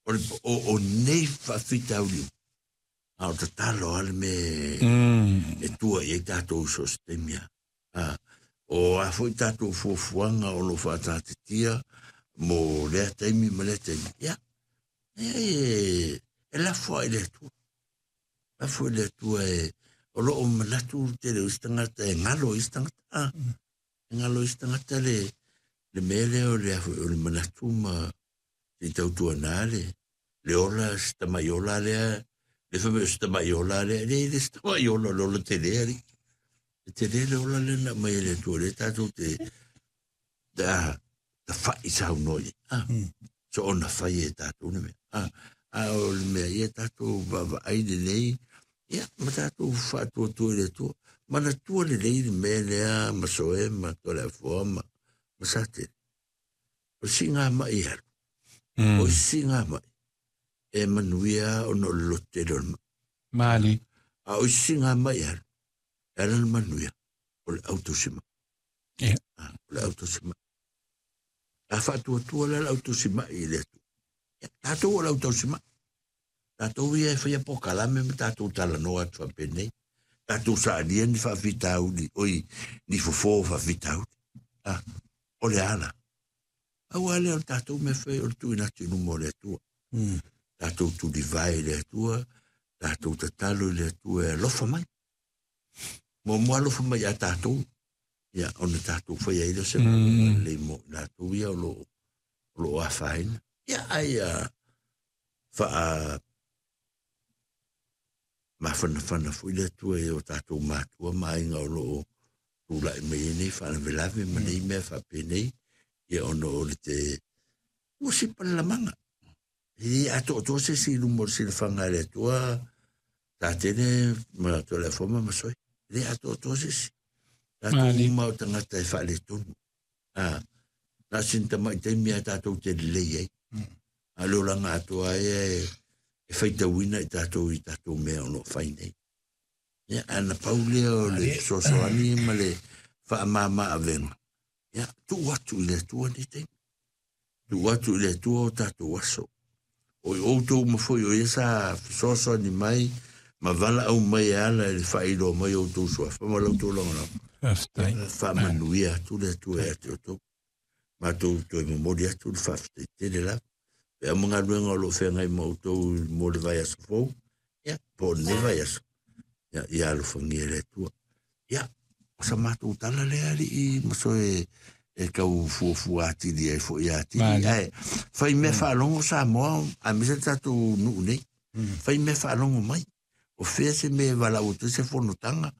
O, le, o, o nei faafitauli uma, a o tatalo lava le mea e tua i ai tatou i so o se taimi lava. A, o a foi tatou fuafuaga o lo o faataatitia mo lea taimi ma lea taimi, ia, e, e lafo lava i le Atua. Lafo i le Atua e, o lo o manatu le tele o isi tagata e galo i isi tagata. A, e galo i isi tagata le, le mea lea o le, o le manatu ma se i tautuana le, le ola, si tamai ola lea, le fai mai o si tamai ola lea, le le si tamai ola, o le ola tele alii. E tele le ola lea na aumai e le Atua, lea tatou te, ta, tafai saunoa i ai. Ah, so ona fai e tatou le mea. Ah, a o le mea ia tatou vaavaai lelei, ia, ma tatou faatuatua i le Atua. Manatua lelei le mea lea ma Soe ma Toleafoa ma, ma Satele. O le siigamai e alu, o isi siigamai e manuia ona o le loto tele o le mai. Mali. A o isi siigamai e alu, e ala le manuia, o le autausimai. Yeah. Ah, o le autausimai. A faatuatua la le autausimai i le Atua. Ia, tatou o le autausimai. Tatou ia e faia polokalame ma tatou talanoa atu faapenei. Tatou saalia ni faafitauli, oi, ni fofo o faafitauli. Ah, o le a la? Aua lea o le tatou mea fai o le tuuina atu i luma o le Atua. Tatou tulivae i le Atua, tatou tatalo i le Atua e alofa mai. Muamua alofa mai ia tatou, ia ona tatou faia ai lea o se galuega lelei mo i latou ia o lo o lo o afaina. Ia ai a faa mafanafana foi le Atua i o tatou matua ma aiga o lo o tulai mai ai nei faalavelave ma nei mea faapenei, ia ona o le te ua sipa le lamaga. E le atoatoa se isi i luma o le silafaga a le Atua, Satene ma Toleafoa ma Masoe. E le atoatoa se isi. Tatou uma o tagata e faaletonu. A, na o sina tamai taimi lava tatou te lelei ai. A o le olaga atoa ai e, e faitauina i tatou i tatou mea o lo o fai nei. Ia, ae na pau lea o le fesoasoani ma le faamama avega, ia, tuu atu i le Atua nei taimi. Tuu atu i le Atua o tatou aso. O i outou uma foi o ia sa fesoasoani mai ma valaau mai e ala i le faailoa mai o outou suafa ma la outou lagolago. Faafetai. Faamanuia atu le Atua ia te outou. Matou toe momoli atu le faafetai tele lava. Pe ma galuega o lo o feagai ma outou mo le vaiaso fou, ia, po o lenei vaiaso, ia, ia alofagia e le Atua. Ia, o sa matou tala lea alii ma soe e tau fuafua atili ai foi atili. Ae fai mea faalogo Samoa, aemaise le tatou nuu nei. Fai mea faalogo mai. O fea se mea e valaau atu ai se fonotaga.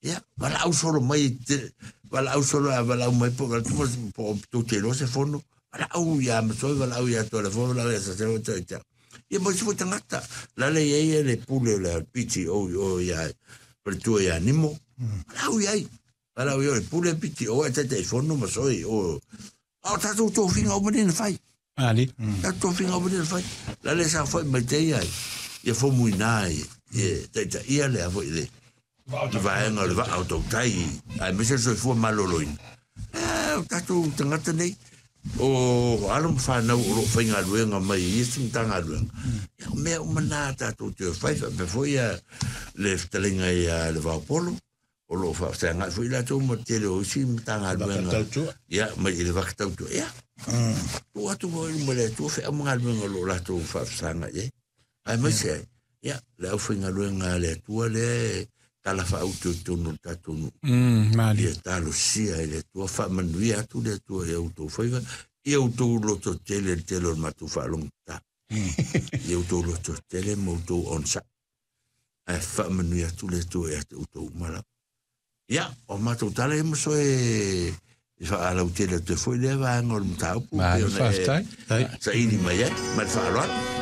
Ia, valaau solo mai, valaau solo a valaau mai po po o tou te iloa se fono. Valaau ia Masoe, valaau ia Toleafoa, valaau ia Saseo, ia ia. Ia ma isi foi tagata. La le i ai le pule o le PTO i o ia faletua ia Nimo. Valaau i ai. Valaau i ai o le pule PTO ae Taitaifono Masoe i o. A o tatou tofiga uma nei na fai. Ali. Tatou tofiga uma nei na fai. La le saofai mai te ia ia Fomuina i e taitaia lea foi le vaega o le vaa o tautai aemaise le soifua maloloina. E, o tatou tagata nei, o alo ma fanau o lo o faigaluega mai i isi Matagaluega, ia, o mea uma na tatou te fai faapea foi ia le fetalaiga ia Levaopolo, o lo o faafeagai foi latou ma le tele o isi Matagaluega. Ia, mai i le vaka tautua. Ia, tuu atu foi i luma o le Atua feau ma galuega o lo o latou faafesagai ai. Aemaise ai, ia, le aufaigaluega a le Atua lea e talafaauto i totonu o le tatou nuu. Malie. Ia talosia e le Atua, faamanuia atu le Atua i a outou faiva, ia outou lototele i le tele o le matou faalogotata. Ia outou lototele ma outou onosai. Ae faamanuia atu le Atua ia te outou uma lava. Ia, o matou tala ia masoe e faalautele atu ai foi lea vaega o le mataupu. Malo, faafetai. Saili mai ai, ma le faaaloalo.